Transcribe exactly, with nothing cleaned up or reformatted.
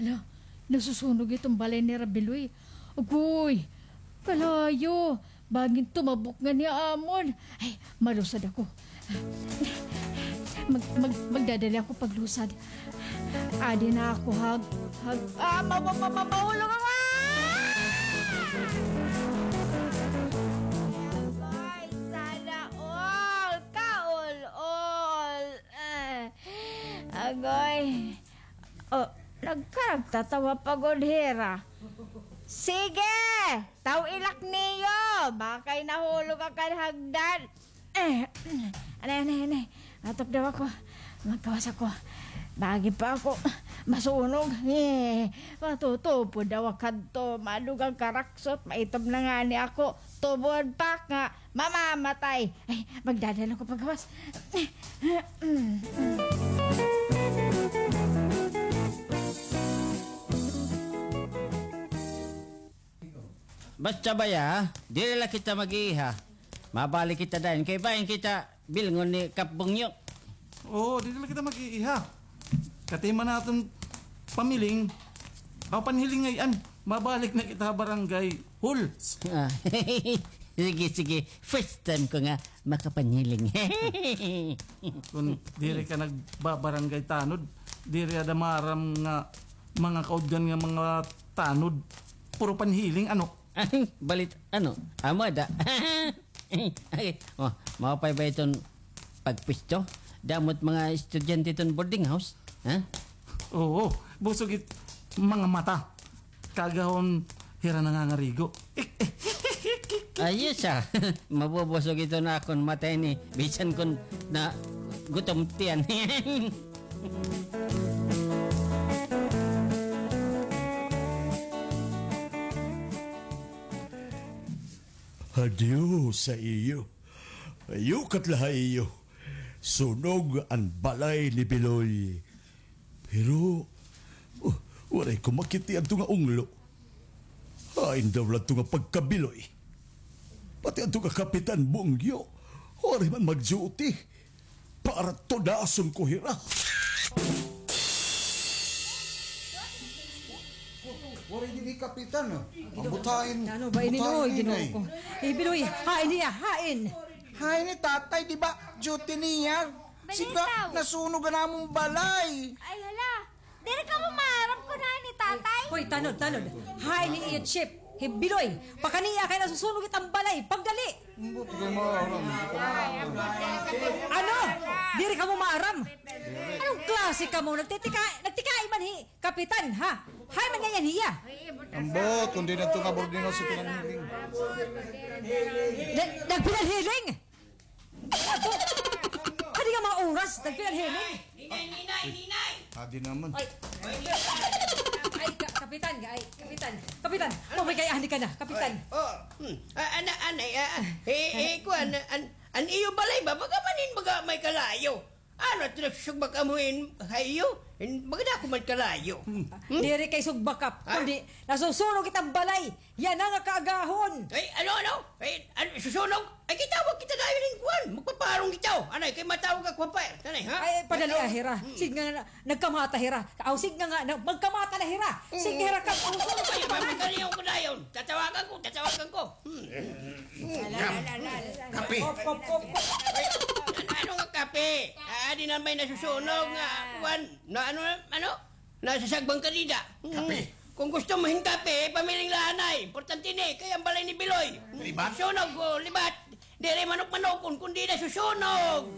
Hala, nasusunog iton balay nira Biloy. Agoy, kalayo. Bangin tumabok ngani amon. Ay, malusad ako. Mag-, mag-, magdadali ako paglusad. Adi na ako, hag-, hag-, ah, ma-, ma-, ma-, ma-, mahulog ako! Ah! Agoy, sana all! Kaul-ol! Eh, agoy. Oh, nagkaragtatawa pa gud hira. Sige! Taw-ilak niyo! Bakay nahulog ka kan hagdan. Eh, anay, anay, anay. Atok daw ako. Magkawas ako. Bagi pa ako masunog. Eh, matutupod daw ako kadto. Madugang karaksot. Maitom na ngani ako. Tubod pa nga mamamatay. Ay, magdadala ko pagkawas. Basta baya, diri la kita mag-iiha. Mabalik kita dayon kay bangin kita bilngon ni Kap Bungyo. Oo, diri la kita mag-iiha. Katima naton pamiling, aw, panhiling ngay-an. Mabalik na kita barangay hall. Ah, sige, sige. First time ko nga makapanhiling. Kon diri ka nagbabarangay tanod, diri ada maaram nga mga kaudgan nga mga tanod. Puro panhiling, ano? Balit, ano? Amo ada. Ay, oh, maupay ba iton pagpwesto? Damo it mga estudyante iton boarding house, ha? Oo, busog it mga mata. Kaagahon hira nangangarigo. Ayos, ah. Mabubusog iton akon mata ini. Bisan kon nagutom tiyan. Adios ha iyo. Yukat la ha iyo. Sunog an balay ni Biloy. Pero, oh, waray ko makit-i adto nga unglo. Hain daw la adto nga pagkabiloy. Pati adto nga Kapitan Bungyo, waray man mag-duty. Para tudason ko hira. Waray didi kapitan, ah. Ambot hain. Ano ba ini, oy, Ginoo ko? Eh, Biloy, hain niya, hain. Hain ni tatay, di ba? Duty niya. Sige, nasunog an amon balay. Ay, hala. Diri kamo maaram kon hain ni tatay? Hoy, tanod, tanod. Hain ni iya chief, hi Biloy. Pakaniya kay nasusunog it am balay. Pagdali. Ambot, di kay maaram. Ano? Diri kamo maaram? Anong klase kamo? Nagtitika-, nagtikai man hi Kapitan, ha? Hain man ngay-an hiya? Ambot, kon diri adto nga boarding house, si Pinanhiling. Na-, nagpinanhiling? Adi nga mga oras, nagpinanhiling. Ninay, ninay, ninay! Adi naman. Ay. Ay, ka-, kapitan, ay, kapitan. Kapitan, maupay kay ani ka na, kapitan. Ay, oh, hmm. Ah, ana, anay, ah, ah. Eh, eh, kuan, an, an iyo balay ba? Baga man hin, baga may kalayo. Ano, ito nagsusugbak amo hin, ha iyo? Hin, baga dako man kalayo. Hmm. Diri kay sugbak, Kap. Ha? Kundi, nasusunog it am balay. Yana nga kaagahon. Ay, ano, ano? Ay, ano, susunog? Ay, kitawag kita dayon hin kuan. Magpaparong kita, oh. Anay, kay matawag ako, umpire. Tanay, ha? Ay, padali, ah, hira. Hmm. Sige nga, na-, nagkamata, hira. Aw, sige nga, nga, na-, magkamata na, hira. Sige, hira, Kap. Ay, magkaliyaw ko dayon. Tatawagan ko, tatawagan ko. Hmm. Hmm. Kape. Hop, hop, hop, hop. Ay, an-, ano nga kape? Ah, di na may nasusunog nga, kuan. Na, ano, ano? Nasasagban ka dida. Kape. Kon gusto mo hin kape, pamiling la anay. Importante ini, kay an balay ni Biloy. Libat? Sunog, oh, libat. Diri manok-manokon, kundi nasusunog.